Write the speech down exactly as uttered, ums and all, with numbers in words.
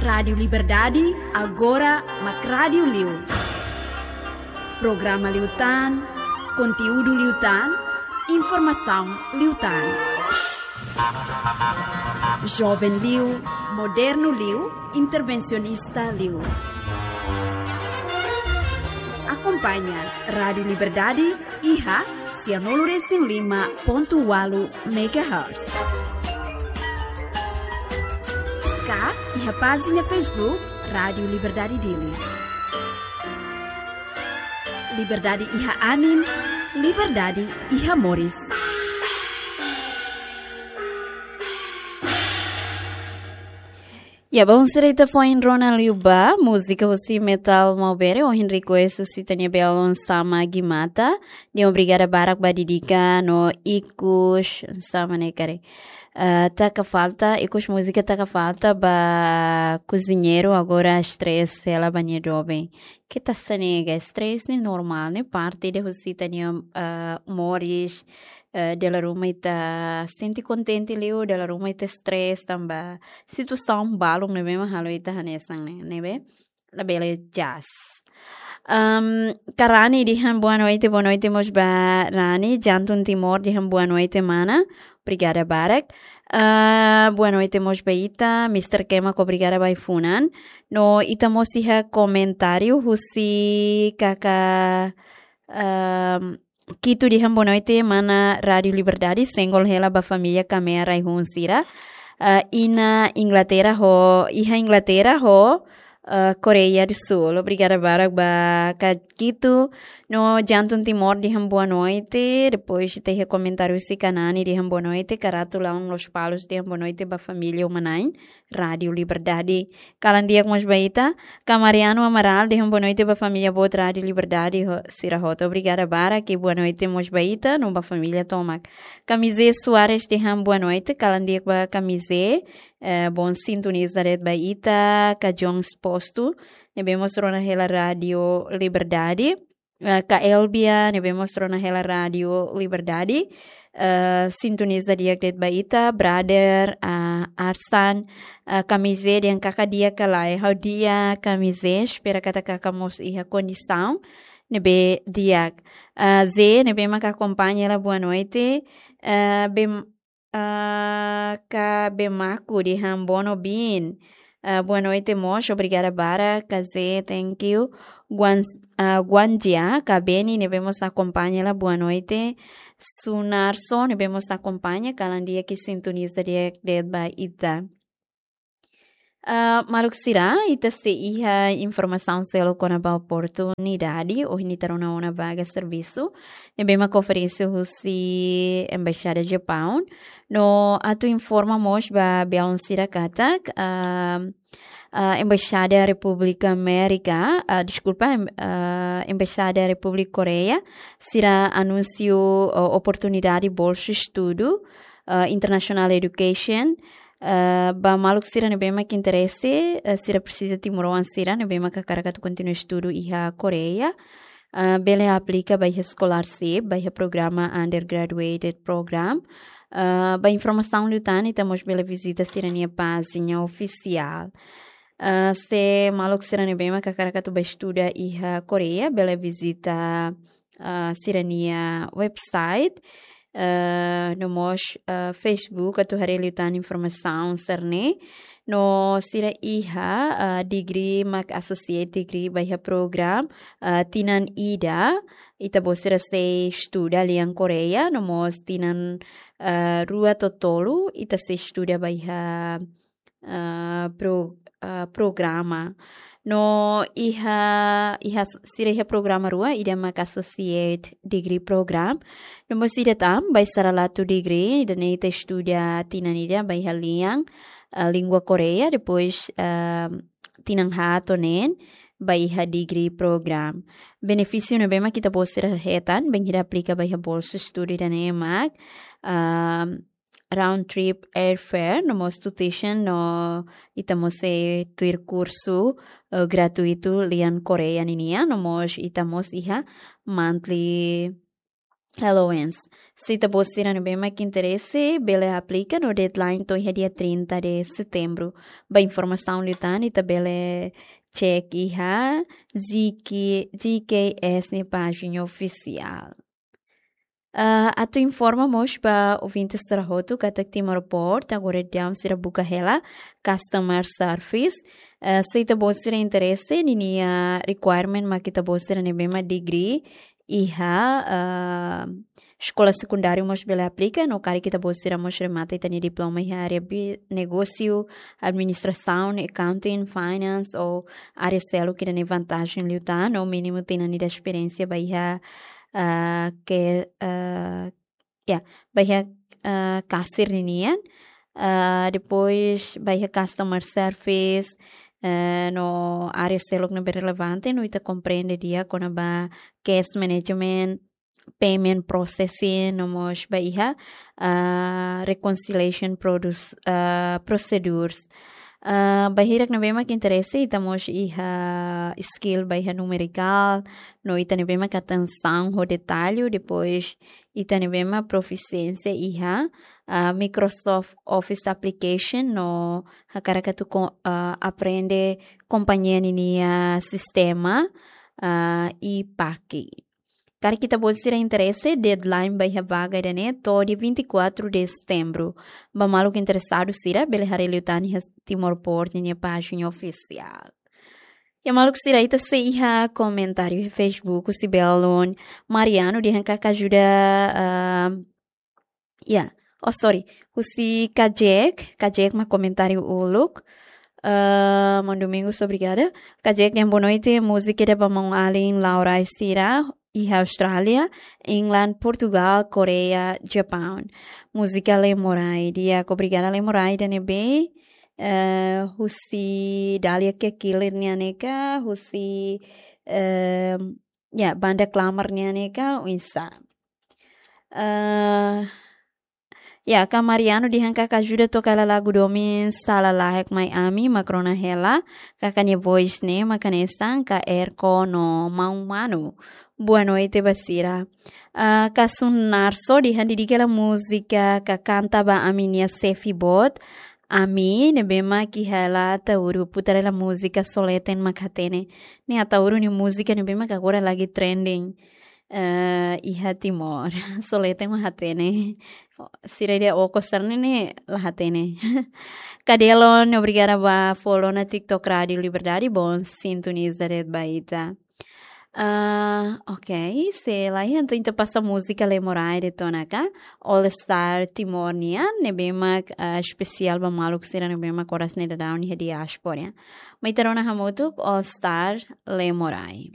Rádiu Liberdade, agora mak rádiu liu. Programa liután, konteúdu liután, informasaun liután. Joven liu, modernu liu, intervensionista liu. Akompaña Rádiu Liberdade iha sianulu resin lima pontu ualu megahertz. Ka iha pájina Facebook Rádiu Liberdade Dili. Liberdade iha anin, liberdade iha moris. Ya, bom, sira ita foin rona liu ba múzika husi Metal Maubere, ohin request husi ita-nia belun sama Gimata. Nia obrigada barak ba Didika no ikus sama ne'e karik. Eh, taka falta, ikus múzika taka falta ba koziñeiru agora stress hela ba nia doben. Keta sane ga stress ne'e normál, ne'e parte ida husi ita-nia, eh, moris, eh, dala ruma ita sente kontente liu, dala ruma ita stress tanba situasaun balun ne'ebé mak halo ita hanesan ne'e, ne'ebé labele jaz. Em, Karani dehan boa noite, boa noite mós ba Rani, Jantun Timor dehan boa noite mana, obrigada barak. Ah, boa noite mós ba ita, Mister Kema, obrigada ba ai-funan. No ita mós iha komentáriu husi kaka, em, Kitu dehan boa noite mana Rádiu Liberdade, sengol hela ba família Kamea rai-hun sira. Ah, iha Inglaterra ho, iha Inglaterra ho, ah, Koreia do Sul. Obrigada barak ba kak Kitu. No Jantun Timor dehan boa noite. Depois ita iha komentáriu husi Kanani dehan boa noite. Karatu Laun Lospalos dehan boa noite ba família uma-na'in Rádiu Liberdade. Kalan di'ak mós ba ita. Ka Mariano Amaral dehan boa noite ba família boot Rádiu Liberdade ho-, sira hotu. Obrigada barak, i boa noite mós ba ita no ba família tomak. Ka Mizé Soares dehan boa noite, kalan di'ak ba ka Mizé, eh, bom sintoniza de'it ba ita, ka Jones Posto, ne'ebé mós rona hela Rádiu Liberdade. Eh, ka Elbia, ne'ebé mós rona hela Rádiu Liberdade. Eh, sintoniza di'ak de'it ba ita, brother, ah, Arsan, eh, ka Mizé dehan kaka di'ak ka lae, ha'u di'ak ka Mizé, espera katak kaka mós iha kondisaun ne'ebé di'ak. Ah, Zé, ne'ebé maka akompaña hela boa noite. Eh, bem, ah, ka Bemaku dehan bono bin. Ah, boa noite mós, obrigada barak, ka Zé, thank you. Guan, ah, Guanjia, ka Beni, ne'ebé mós akompaña hela boa noite. Sunarso, ne'ebé mós akompaña, kalan di'ak i sintoniza di'ak de'it ba ita. Ah, maluk sira, ita sei iha informasaun seluk kona-ba oportunidade, ohin ita rona ona vaga servisu ne'ebé maka oferese husi Embaixada Japaun. No atu informa mós ba belun sira katak, ah, ah, Embaixada Repúblika Amérika, ah, deskulpa, em-, ah, Embaixada Repúblika Koreia, sira anunsia, ah, oportunidade bolsa estudu, ah, International Education, ah, ba maluk sira ne'ebé mak interese, ah, sira presiza timoroan sira ne'ebé mak hakarak atu kontinua estudu iha Koreia. Ah, bele aplika ba iha scholarship, ba iha programa undergraduate program. Ah, ba informasaun liután ita mós bele vizita sira-nia pájina ofisiál. Ah, se maluk sira ne'ebé mak hakarak atu ba estuda iha Koreia, bele vizita, ah, sira-nia website, ah, no mós, ah, Facebook atu haree liután informasaun sira-ne'e. No sira iha, ah, degree mak associate degree ba iha program, ah, tinan ida, ita-boot sira sei estuda lian Koreia, no mós tinan, ah, rua to'o tolu, ita sei estuda ba iha, ah, pro-, ah, programa. No iha, iha s-, sira iha programa rua, ida mak associate degree program. No mós ida tan, bacharelatu degree, ida-ne'e ita estuda tinan ida ba iha lian, ah, língua Koreia, depois, ah, tinan haat to'o neen ba iha degree program. Benefísiu ne'ebé mak ita-boot sira hetan, bainhira aplika ba iha bolsa estudu ida-ne'e mak, ah, round trip airfare, no mós tuition, no ita mós sei tuir kursu, eh, gratuitu lian Koreia ninian, no mós ita mós iha monthly, allowance. Se ita-boot sira ne'ebé mak interese, bele aplika no deadline to'o iha dia trinta de setembro. Ba informasaun liután, ita bele cek iha G K, G K S nia pájina ofisiál. Ah, atu informa mós ba ouvinte sira hotu katak Timor Post agora daudaun sira buka hela customer service. Ah, se ita-boot sira interese, ninia requirement mak ita-boot sira ne'ebé mak degree iha, ah, eskola sekundáriu mós bele aplika, no karik ita-boot sira mós remata ita-nia diploma iha área bi-, negósiu, administrasaun, accounting, finance, ou área seluk ida-ne'e vantajen liután, no mínimu tinan ida esperiénsia ba iha, ah, ke, ah, ya, ba iha, ah, kasir ninian, ah, depois ba iha customer service, eh, no área seluk ne'ebé relevante, no ita komprende di'ak kona-ba cash management, payment processing, no mós ba iha, ah, reconciliation produce, ah, procedures. Ah, ba hirak ne'ebé mak interese, ita mós iha skill ba iha numerikál, no ita ne'ebé mak atensaun ho detalle, depois ita ne'ebé mak profisiénsia iha, ah, Microsoft Office Application, no hakarak atu ko-, ah, aprende kompañia ninia sistema, ah, e paki. Karik ita-boot sira interese, deadline ba iha vaga ida-ne'e to'o dia vinte e quatro de setembro. Ba maluk interesadu sira, bele haree liután iha Timor Post ninia pájina ofisiál. Ya maluk sira, ita sei iha komentáriu iha Facebook, husi belun Mariano dehan karik ajuda, ah, ya. Oh, sorry. Husi Kajek, Kajek mak komentáriu uluk. Ah, maun Domingos, obrigada. Kajek dehan boa noite, múzika ida ba maun-alin Laura sira iha Austrália, England, Portugal, Koreia, Japaun. Múzika Lemorai. Di'ak, obrigada Lemorai ida-ne'ebé, eh, husi Dalia Kekilir nian ne'e ka, husi, eh, ya, banda Klamar nian ne'e ka, oinsá. Eh, ya, ka Mariano dehan karik ajuda toka hela lagu domin Sala Lahek Mai Ami mak rona hela, karik nia voice ne'e mak hanesan ka Erko no maun Manu. Boa noite ba sira. Ah, ka Sunarso dehan dedika hela múzika ka Kanta ba Ami nia xefe boot, Ami, ne'ebé mak iha hela Ataúru, putar hela múzika Só Leten Mak Hatene. Ne'e Ataúru nia múzika ne'ebé mak agora lagi trending, eh, iha Timor. Só Leten Mak Hatene. Sira ida okos sira-ne'e la hatene. Kadelon, obrigada ba follow ona TikTok Rádio Liberdade, bom sintoniza de'it ba ita. Ah, ok, se lae, entaun ita pasa múzika Lemorai de'it ona ka, All Star Timor nian, ne'ebé mak, ah, espesiál ba maluk sira ne'ebé mak oras ne'e daudaun iha diáspora. Mai ita rona hamutuk All Star Lemorai.